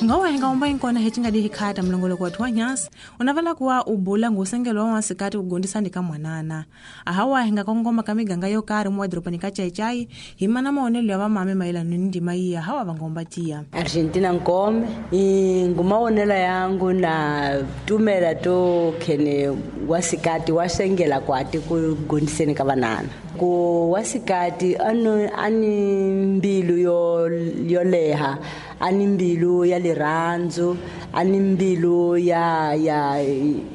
Ngawa hi nga umba inkona hi nga di hikhata mlongoloko wa thwanyas unavela kuwa ubula ngusengelo wa wasikati kugondisani ka mwanana. Ahawa hi nga kongoma ka miganga yo karhi mo dropani ka chaichai hi mana maonelo ya vamame mayelana ni ndima iya hawa vangomba tiya. Argentina Nkome ngumaonelo yangu na tumela to khene wasikati wasengela kwati kugondiseni ka vanana. Ku wasikati ani mbilu yo leha, ani mbilu ya lirhandzu, ani mbilu ya ya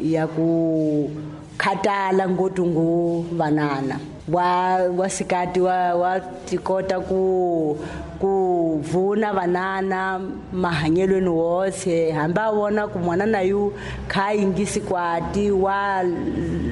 ya ku khatala ngopfu ngu vanana. Wa wasikati wa tikota ku vuna vanana mahanyelweni wose, hambi a vona ku mwanana yu kha yingisi kwati wa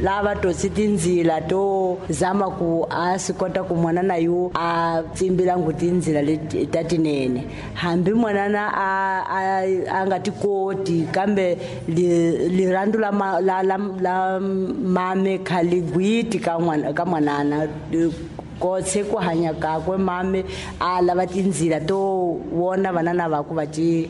lava totsi tindzila to zama ku a swi kota ku mwanana yu a tsimbila ngu tindzila leti ta tinene. Hambi mwanana a nga ti koti, kambe lirhandzu la mame kha li gwiti ka mwanana kotse ku hanya kakwe mame a lava tindzila to vona vanana va ku va ti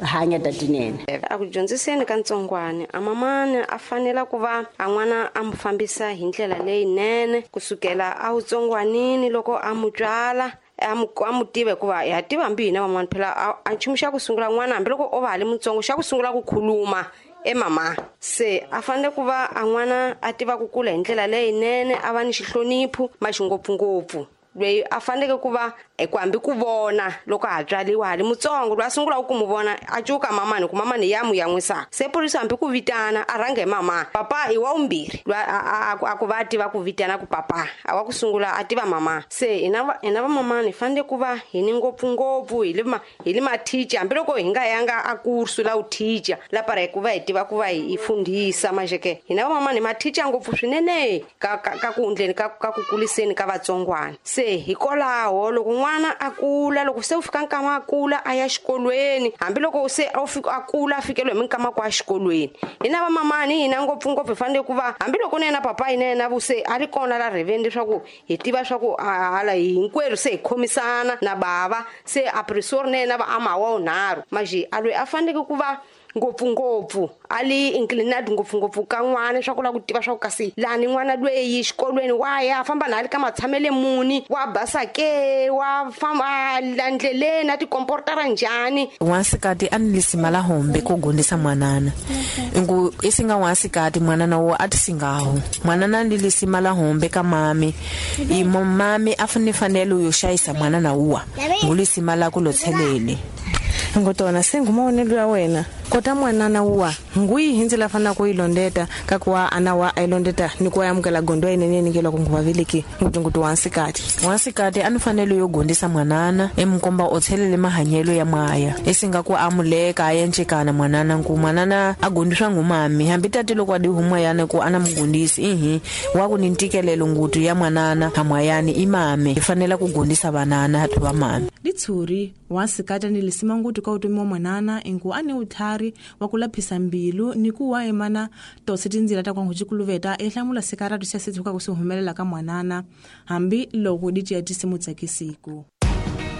hanya ta tinene. A ku dyondziseni ka ntsongwana a mamani a fanela ku va a n'wana a mu fambisa hi ndlela leyinene kusukela a wutsongwanini loko a mu tswala a mu tiva, hikuva ha tiva hambi hina van'wana phela a nchumu xa ku sungula n'wana hambi loko o va ha li mutsongo xa ku sungula ku khuluma e mama. Se a fanele ku va a n'wana a tiva ku kula hi ndlela leyinene, a va ni xihlonipho maxingopfungopfu loyi a faneleke ku va ku hambi ku vona loko ha tswaliwa ha li mutsongo loyi a sungulaka ku mu vona a cuka mamani ku mamani ya mu yan'wisa. Se phorisa hambi ku vitana a rhange hi mama, papa i wa vumbirhi loyi a ku va a tiva ku vitana ku papa a wa ku sungula a tiva mama. Se hina vamamani hi fanele ku va hi ni ngopfungopfu hi li mathicha, hambi loko hi nga yanga a kursu la uthicha lapara hi ku va hi tiva ku va hi fundhisa majeke hina vamamani hi mathicha ngopfu swinene ka ku endleni ka ku kuliseni ka vatsongwana. Se hikwalaho loko n'wana a kula, loko se u fika nkama a kula a ya xikolweni, hambi loko se a fika a kula a fikeliwe hi minkama ku a xikolweni, hina vamamani hina ngopfungopfu hi fanele ku va hambi loko na yena papa hina yena vu se a ri kona la rheveni leswaku hi tiva swa ku hala hinkwerhu se hi khomisana na bava se a prisori na yena va amawa wunharhu maji a loyi a faneleke ku va ngopfungopfu a li inclined ngopfungopfu ka n'wana swa ku lava ku tiva swa ku kasi lani n'wana lweyi xikolweni wa ya famba na ali ka matshamele muni, wa basa ke, wa famba la ndleleni a tikomportara njhani. Wansikati a ni lisima la hombe ku gondisa mwanana ngu isinga wansikati mwanana wo a tisingaho mwanana ni lisima la hombe ka mami imo mami a fanele yo xayisa mwanana uwa ngulisima la ku lothelele. Ngotona sengumaonelo ya wena kota mwanana uwa nguyi hindzela fana ku ilondeta kakuwa ana wa ailondeta ni ku amukela gondo inene nikela ku nguvaveleki ngutungutu wansikati. Wansikati a ni fanele yo gondisa mwanana emkomba o tshelele mahanyelo ya mwaya isinga ku amuleka a yencekana mwanana nku mwanana a gondiswa ngumami hambi tati loko a di humwayana ku ana mugondisi ihi wa ku ni ntikelelo ngutu ya mwanana hamwayani imame i fanela ku gondisa vanana hathu va mami. Litshuri wansikati ni lisima ngutu ka utomi wa mwanana ingu ani uthari wa ku laphisa mbilu ni ku wa emana tose tindzila ta kwangu cikuluveta e hlamula sikaratu xa sithuka ku swi humelela ka mwanana hambi loko di ciya tisimu tsakisiku.